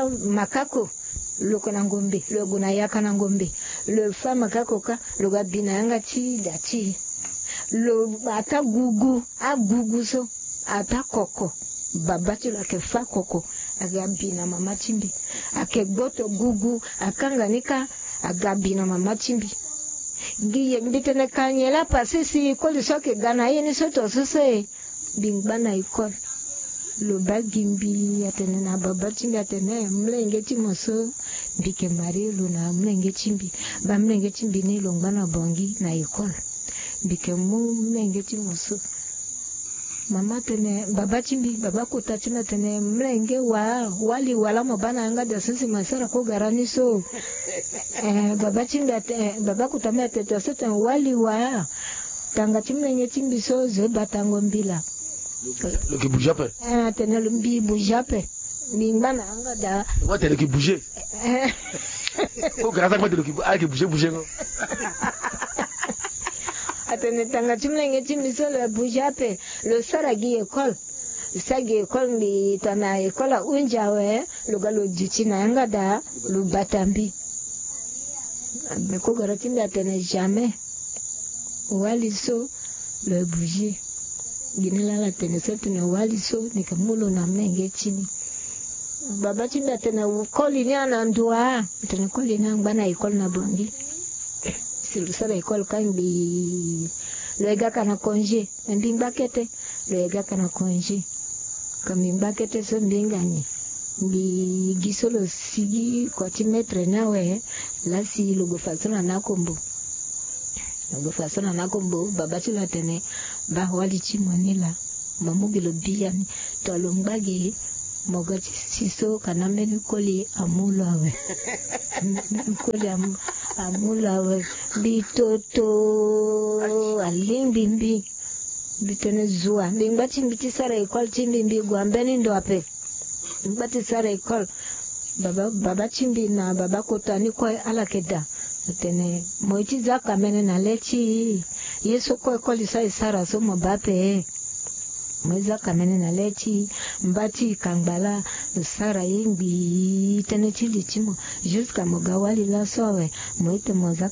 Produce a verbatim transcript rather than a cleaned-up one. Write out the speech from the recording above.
Makako, lo yeke na ngombe, lo gue na yaka na ngombe. Lo fa makako kâ, lo ga bi na yanga ti da ti e. Lo bata gugu, agugu so ata koko. Baba ti lo ayeke fa koko, aga bi na mama ti mbi. Ayeke gboto gugu, akanga ni kâ, aga bi na mama ti mbi. Gi ye mbi tene ka nyen laa pase si koli so ayeke ga na ye ni so to so so e. Mbi ngba na école. Lo baa gi mbi atene na baba ti mbi atene, eh, molenge ti mo so. Mbi yeke marie lo na molenge ti mbi. Baa molenge ti mbi ni lo ngba na Bangui na école. Mbi yeke mu molenge ti mo so. Mama atene, baba ti mbi, baba kota ti mbi atene, molenge wa, wali wa laa mo baa na yanga da so si mo sara kogara ni so. Eh, baba ti mbi ate-, eh, baba kota mbi atene, to so tene wali wa. Tanga ti molenge ti mbi so, zo batango mbila. Lo yeke bouge ape. Eh, atene lo mbi bouge ape. Mbi ngba na yanga da. Wa tene lo yeke bouge. Eh. Kogara so akoma tene lo yeke bou-, ayeke bouge bouge ngo. Atene tanga ti molenge ti mbi so lo bouge ape. Lo sara gi école. Lo sara gi école, mbi tongana école ahunzi awe, lo ga lo duti na yanga da, lo bata mbi. Me kogara ti mbi atene jamais. Wali so lo bouge. Gi ni laa ala tene so tene wali so ni yeke mu lo na molenge ti ni. Baba ti mbi atene koli ni ana ndo wa? Atene koli ni angba na école na Bangui. Si lo sara école kâ ngbii, lo ye ga ka na congé. Me mbi ngba kete, lo ye ga ka na congé. Ka mbi ngba kete so mbi hinga nyen? Mbi gi so lo sigi kua ti maître ni awe, laa si lo gue fa so na nakombo. Lo gue fa so na nakombo, baba ti lo atene, baa wali ti mo ni laa, mo mu gi lo biani. To lo ngba gi, mo ga ti si so ka na mbeni koli amu lo awe. Mbeni koli amu, amu lo awe. Mbi toto, alingbi mbi. Mbi tene zo wa, mbi ngba ti mbi ti sara école ti mbi, mbi gue na mbeni ndo ape. Mbi ngba ti sara école. Baba, baba ti mbi na baba kota ni kue ala yeke daa. Atene, mo ye ti za kamene na le ti e. Ye so kue koli so aye sara so mo baa ape. Mo ye za kamene na le ti e. Mba ti e kangba laa, lo sara ye ngbii, tënë ti li ti mo. Jusqu'à mo ga wali laso awe, mo ye tene mo za